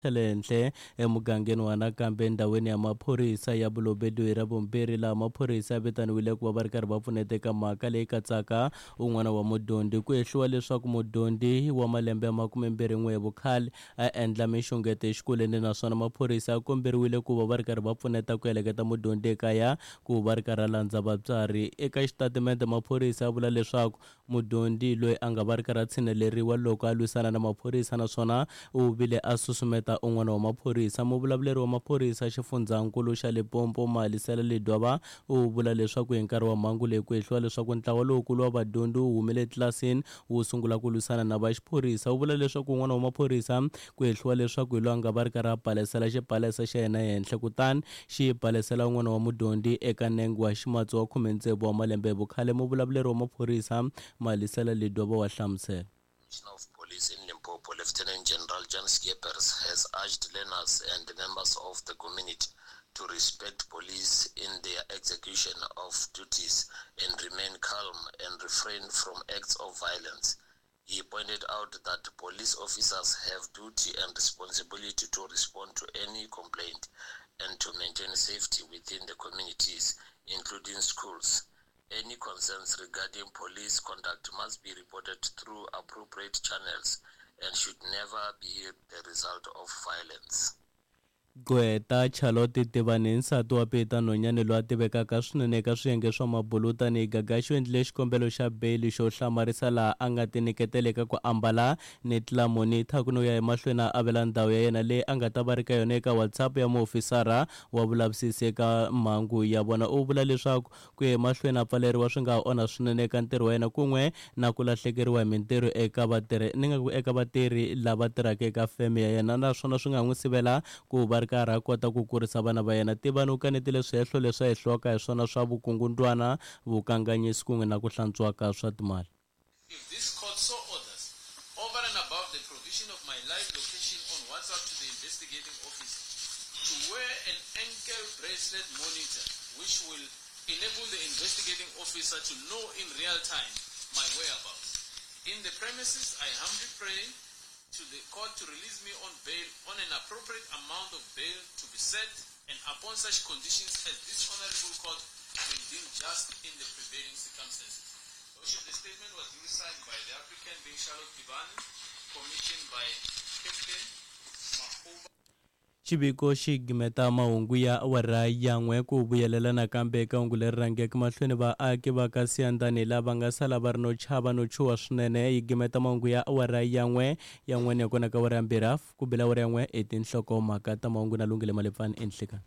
Xa le henhla emugangeni wa nakambe endhawini ya maphorisa ya Bolobedu hi Ravumbirhi laha maphorisa ya vitaniwile ku va va ri karhi va pfuneta eka mhaka leyi katsaka un'wana wa mudyondzi. Ku hehliwa leswaku mudyondzi wa malembe ya makumembirhi-n'we hi vukhale a endla minxungeto exikolweni naswona maphorisa ya komberiwile ku va va ri karhi va pfuneta ku heleketa mudyondzi ekaya ku va ri karhi a landza vatswari. Eka xitatimende maphorisa ya vula leswaku Mudyondzi loyi a nga va ri karhi a tshineleriwa loko a lwisana na maphorisa naswona u vile a susumeta un'wana wa maphorisa. Muvulavuleri wa maphorisa xifundzhankulu xa Limpopo, Malisela Ledwaba u vula leswaku hi nkarhi wa mhangu leyi ku hehliwa leswaku ntlawa lowukulu wa vadyondzi wu humile etlilasini wu sungula ku lwisana na va xiphorisa. U vula leswaku un'wana wa maphorisa ku hehliwa leswaku hi loyi a nga va ri karhi a balesela xibalesa xa yena ehenhla kutani xi balesela un'wana wa mudyondzi eka nenge wa ximatsi wa khume-tsevu wa malembe hi vukhale, muvulavuleri wa maphorisa Malisela Ledwaba wa hlamusela. Commissioner of Police in Limpopo, Lieutenant General Jan Schippers, has urged learners and members of the community to respect police in their execution of duties and remain calm and refrain from acts of violence. He pointed out that police officers have duty and responsibility to respond to any complaint and to maintain safety within the communities, including schools. Any concerns regarding police conduct must be reported through appropriate channels and should never be the result of violence. Gqweta Charlotte Tivani, nsati wa Peter Nonyane loyi a tivekaka swinene eka swiyenge swa mabulu tanihi Gagashi u endlile xikombelo xa beyili xo hlamarisa laha a nga tinyiketela eka ku ambala ni tlamonitha ku no ya emahlweni a avela ndhawu ya yena leyi a nga ta va ri ka yona eka WhatsApp ya muofisara wa vulavisisi eka mhangu ya vona. U vula leswaku Ku ya emahlweni a pfaleriwa swi nga ha onha swinene eka ntirho wa yena kun'we na ku lahlekeriwa hi mintirho eka vatirhi ni nga ku eka vatirhi lava tirhaka eka feme ya yena naswona swi nga n'wi sivela ku va ri karhi a kota ku kurisa vana va yena. Tivani u kanetile swihehlo leswi a hehliwaka hi swona swa vukungundwana, vukanganyisi kun'we na ku hlantswiwa ka swa timali. If this court so orders, over and above the provision of my live location on WhatsApp to the investigating officer, to wear an ankle bracelet monitor which will enable the investigating officer to know in real time my whereabouts. In the premises, I humbly pray to the court to release me on bail on an appropriate amount of bail to be set and upon such conditions as this honorable court may deem just in the prevailing circumstances. Worship, the statement was duly signed by the applicant being Charlotte Tibani, commissioned by Captain Mahuba. Xiviko xi gimeta mahungu ya awara ya n'we ku vuyelela nakambe eka hungu leri rhangeke mahlweni vaaki va ka Siyandhani lava nga sala va ri no chava no chuha swinene. Yi gimeta mahungu ya awara ya n'we ya n'we ni ya kona ka awara ya mbirhi hafu ku bela awara ya n'we i tinhlokomhaka ta mahungu na Lungile Malepfani enhlekani.